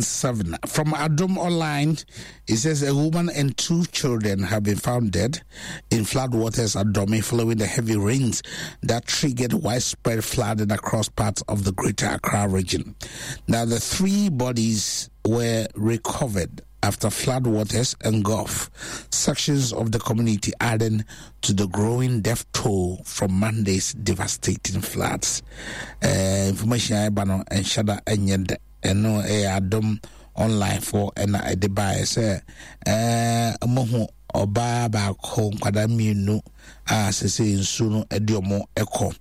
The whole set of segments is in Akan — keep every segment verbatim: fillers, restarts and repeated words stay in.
Seven. From Adom Online, it says a woman and two children have been found dead in floodwaters at Dome following the heavy rains that triggered widespread flooding across parts of the Greater Accra region. Now, the three bodies were recovered after floodwaters engulfed sections of the community, adding to the growing death toll from Monday's devastating floods. Uh, information I no and ɛnyɛ ɛno ɛyɛ Adom Online foɔ ɛna ɛde baeɛ sɛ ɛɛ ɔmo ɔbaa baako nkwadaa mmienu a sese nsuo no ɛde ɔmo ɛkɔ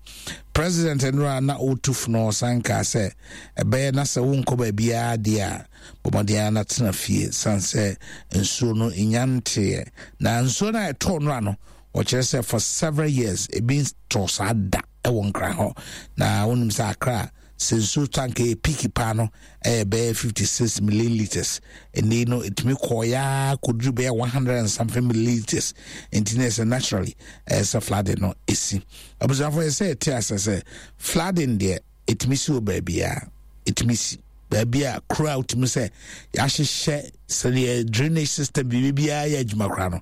president nnora na ɔretu fono ɔsan kaa sɛ ɛbɛyɛ na sɛ wonkɔ baabiara deɛ a bɔmmɔden na tena fie san sɛ nsuo no nya nteɛ na nsuo no a ɛtɔɔ nnora no ɔkyerɛ sɛ for several years ebi tɔ saa da ɛwɔ nkran hɔ na wonim sɛ akra sɛ nsuo tank ɛyɛ peak paa no ɛyɛ bɛyɛ fifty six milliliters ɛnni no ɛtumi kɔɔyaa kɔduru bɛyɛ one hundred and something milliliters nti na ɛsɛ naturally ɛyɛ sɛ flooding no ɛsi abusuafo yɛ sɛ ɛte asɛ sɛ flooding deɛ ɛtumi si wɔ baabiara ɛtumi si baabi a kuro a wotumi sɛ yɛahyehyɛ sɛdeɛ drainage system biribi biara yɛ adwuma koraa no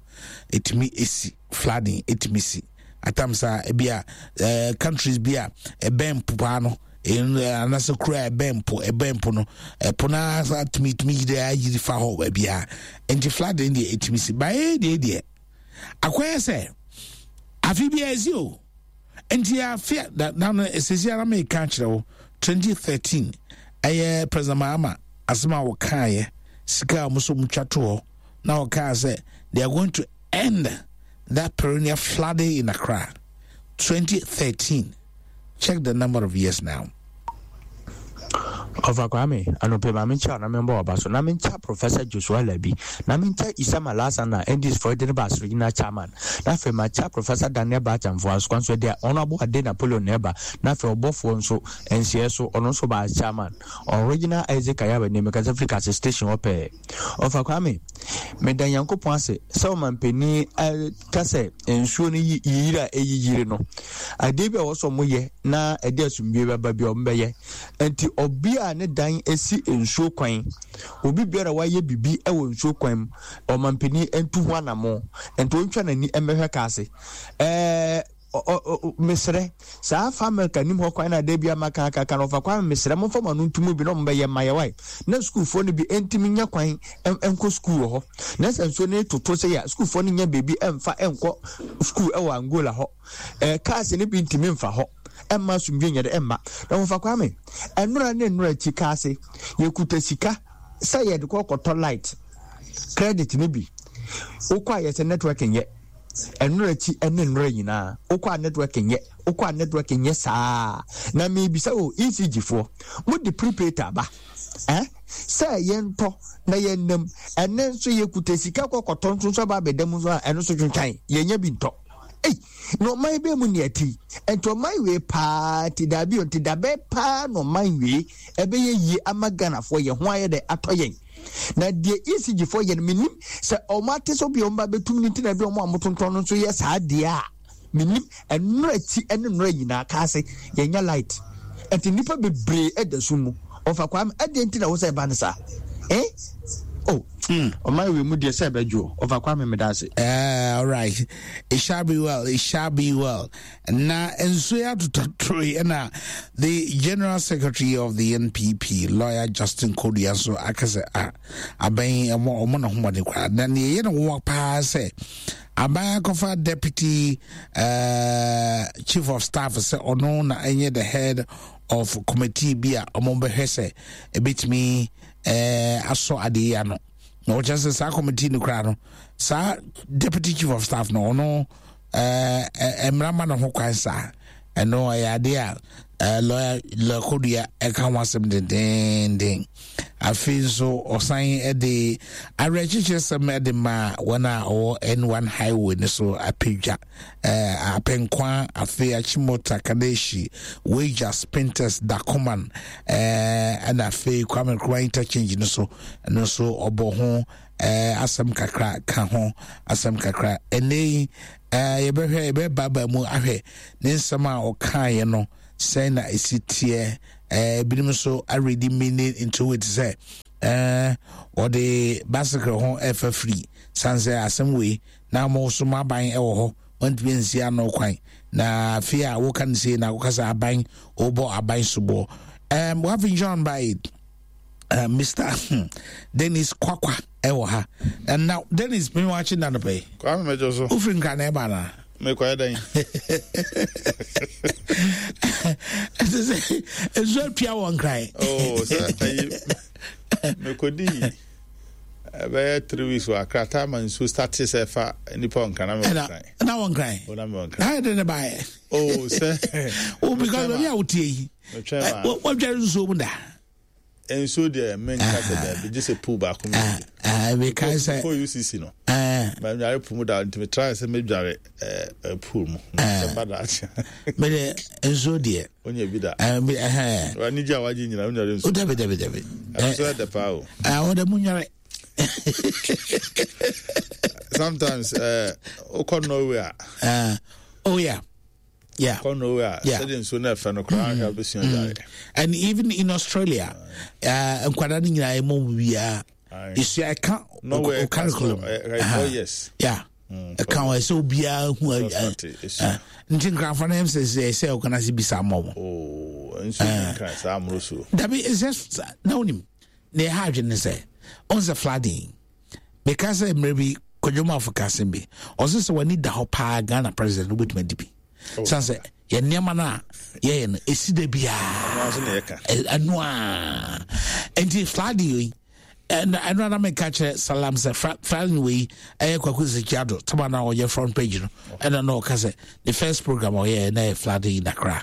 ɛtumi ɛsi flooding ɛtumi si atam saa ebi a ɛɛ countries bi a ɛbɛn mpo paa no anaasɛ kuro a ɛbɛn mpo ɛbɛn mpo no ɛpo naa sa tumi tumi yiri ayiri fa hɔ baabi a nti flooding deɛ ɛtumi si baayɛ deɛ deɛ akɔyɛ sɛ afi bi a ɛsi o nti afi na na no esisi ara mi ka kyerɛ wo twenty thirteen ɛyɛ president mahama asɛm a wɔkaeɛ sika a wɔn nso wɔn twa to hɔ na wɔkaa sɛ they are going to end that perennial flooding in Accra twenty thirteen check the number of years now. ɔfa kwame anɔpɛ ma menkyɛ na membɔ ɔba so na menkyɛ professor joshua labi na menkyɛ isama lasa na ndc foɔ de ne ba asoro gyina chairman na afei makyɛ professor daniel bachamfoɔ asokwa nso deɛ ɔno abo ade napoleon na ɛba na afei ɔbɔfoɔ nso nsiɛ so ɔno nso ba chairman original isaac ayaba ne mekasa firi kase station hɔ pɛɛ ɔfa kwame meda nyankopɔn ase sɛ ɔmampanin ka sɛ nsuo no yiyiri a ɛyiyiri no adeɛ bi a wɔsɔ mo yɛ na ɛde asomdwe bɛba bi a ɔmo bɛyɛ nti ɔbi a ne dan esi nsuo kwan obi biara wayɛ bibi ɛwɔ nsuo kwan mu ɔmampanin ntu ho anamo nti ɔntwa n'ani mmɛhwɛ kaase ɛɛ mesrɛ saa familka anim hɔ kwan na ada bi ama kakaka no ɔfa kwan mesrɛ momfa ma no ntomu bi na ɔmo bɛyɛ mma yɛ na sukuufoɔ no bi ntumi nya kwan nkɔ sukuu wɔ hɔ na sɛ nsuo no toto sɛ yɛ sukuufoɔ no nya beebi ɛmfa nkɔ sukuu ɛwɔ angola hɔ ɛɛ cars no bi ntumi mfa hɔ ɛmma asomdwe nyɛ dɛ ɛmma na wɔfa kwame ɛnora ne nnora akyi kaase yɛkuta sika sɛ yɛde kɔ kɔtɔ light credit no bi wokɔ a yɛsɛ network nyɛ ɛnora akyi ɛne nnora nyinaa wokɔ a network nyɛ wokɔ a network nyɛ saa na mebisa o ecg foɔ mode prepaid aba eh? sɛ yɛntɔ na yɛnam ɛnɛ nso yɛkuta sika kɔ kɔtɔ nso nso aba abɛda mu nso a ɛno nso twentwan yɛnya bi ntɔ ei na ɔman bɛɛ mu ne ɛti nti ɔman wei paa nti daabi o nti dabɛ paa na ɔman wei ɛbɛyɛ yie ama ghanafoɔ yɛn ho ayɛ dɛ atɔ yɛn na deɛ ecg foɔ yɛ no menim sɛ ɔmo ate sɛ obi a ɔmo ba bɛtum ne nti na bi ɔmo a motontɔn no nso yɛ saa deɛ a menim ɛnora akyi ɛne nnora nyinaa kaase yɛnya light nti nnipa bebree ɛda so mu ɔfa kwame ɛdeɛ nti na wo sɛ ɛba no saa eh oh ɔman wei mu deɛ sɛ ɛbɛdwo ɔfa kwame meda ase Uh, all right. It shall be well. It shall be well. Na nsuo yi atotɔtoro yi ɛna the general secretary of the NPP, lawyer Justin Kodua nso aka sɛ ah aban ɛmɔ ɔmo na ho mmɔden koraa. Na nea ɛyɛ no nwa paa sɛ aban akɔfa deputy uh, chief of staff sɛ ɔno na ɛnyɛ the head of committee bi a ɔmo bɛhwɛ sɛ ebetumi ɛɛ asɔ adeɛ yi ano na wɔkyerɛ sɛ saa committee no koraa no saa deputy chief of staff no ɔno ɛɛ mmara ma ne ho kwan saa ɛno ɛyɛ adeɛ a ɛɛ lawyer lawyer Kodua ɛka ho asɛm dendenden afei nso ɔsan ɛde awerɛkyekyerɛ sɛm ɛde ma wɔn a ɔwɔ N one highway no so apagya ɛɛ apɛnkwa afei achimota kaneshi weija spintex dakoman ɛɛ ɛna afei kwame nkrumah interchange no so ɛno nso ɔbɔ ho ɛɛ asɛm kakra ka ho asɛm kakra ɛnɛ yi ɛɛ yɛbɛhwɛ yɛbɛbaaba mu ahwɛ ne nsɛm a ɔkaeɛ no sɛn na esi teɛ ɛɛ ebinom nso already meaning into it sɛ Ɛɛ ɔde bicycle ho ɛfa firi san sɛ asɛm wei na mo so mo aban ɛwɔ hɔ, wɔntumi nsi ano kwan, na afei a woka no sei na woka sɛ aban wobɔ aban soboɔ. um, we have been joined by uh, Mister Dennis Kwakwa ɛwɔ ha. And now, Dennis, me watching na no pɛ. Kwame, mɛjọ so. Wofiri Nkra na ɛba na? Mekɔyɛ dɛn? Ɛsɛ sɛ nsuo atua wɔ Nkran. Oh, sɛ ayi, mekɔdii ɛbɛyɛ three weeks wɔ Akra time a nsuo start sɛ ɛfa nipa wɔ Nkran na mewɔ Nkran. Na wɔ Nkran? O, na mewɔ Nkran. Na ayɛ de ne baeɛ? Oh, sɛ Oh, because baabi a wotie yi, metwɛn ma wɔdware nsuo mu da? Nsuo deɛ, menka sɛ daabi, gye sɛ pool baako mu. Mekae sɛ kɔ U C C no, madware pool mu da, nti metrae sɛ mɛdware eh, pool mu sɛ ba daakye. Mede nsuo deɛ wonya bi da? Eh, me- ɛhɛn. W'ani gye a wagye nyina, wonware nsuo? Oh, dabi, dabi, dabi. Ɛno nso ɛdɛ paa o. Wɔde mu nware. Sometimes eh, wokɔ Norway a, Uh, oh yeah yeah kɔ Norway a, Yeah. sɛdeɛ nsuo no ɛfɛ no koraa, ahwɛ wobɛsua dware. And even in Australia, uh, nkwadaa no nyinaa ɛmɔ mu biara Aye. ɛsua ɛka Norway o curriculum. eh, eh, four years. Yeah, ɛka wɔ ɛsɛ obiara hu. First party, ɛsua. Nti nkranfoɔ no ɛm sɛ sɛ ɛsɛ ɔkana se bisa mmɔ mo. Oh, nsuo bi Nkran saa mmoro so. Dabi, ɛsɛ na wonim na ɛha adwene ne sɛ ɔn sɛ flooding, meka sɛ mmerɛ bi kwadwomafo ka asɛm bi, ɔsɛ sɛ w'ani da hɔ paa, Ghana president wobɛtumi adi bi sane sɛ yɛ nneɛma no a yɛyɛ no ɛsi da biara. Ɛno nso na yɛka. Ɛ- ɛno a nti flooding yi, ɛno ɛno ana meka kyerɛ Salam sɛ fra- flooding wei ɛyɛ Kwaku Sekiado tama na ɔyɛ front page no, ɛna na ɔka sɛ the first program a ɔyɛ na ɛyɛ flooding in Accra.